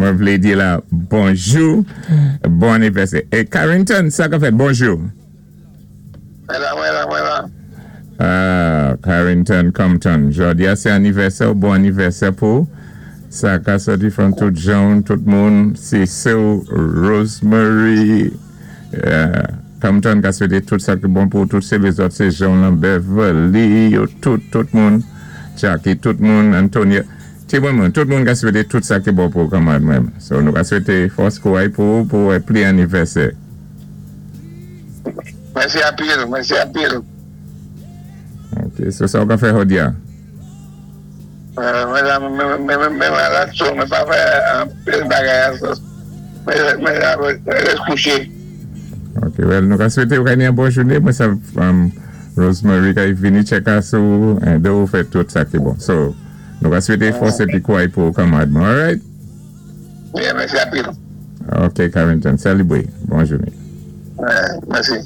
Mwen vlé di la bonjou, bon anivèsè. É Carrington, sa ka fèt? Bonjou. Mwen la, mwen la, mwen la. Ah, Carrington Compton. Jòdi-a sé anivèsè, bon anivèsè pou sa ka sòti from tout jan, tout moun, sé sè Rosemary Compton ka swété tout sa ki bon pou tout sé lézòt, sé Jean Lambert, Beverly, yo tout, tout moun, Jackie, tout moun, Antonia, ti moun, tout moun ka swété tout sa ki bon pou kanmad mwen. So nou ka swété fòs kouray pou pli anivèsè. Mèsi anpil, mèsi anpil. Ok, so sa ou ka fè jòdi-a? Mwen malad, so mwen pa fè anpil bagay. Mwen rès kouché. Ok, well, nou ka swété ou ka ni yon bon jouné. Mwen sa Rosemary ka vini check sou édé ou fè tout sa ki bon. So, nou ka swété fòs épi kouray pou kanmad mwen, alright? Yeah, mèsi anpil. Ok, Carrington, sali bwe. Bon jouné. Mèsi.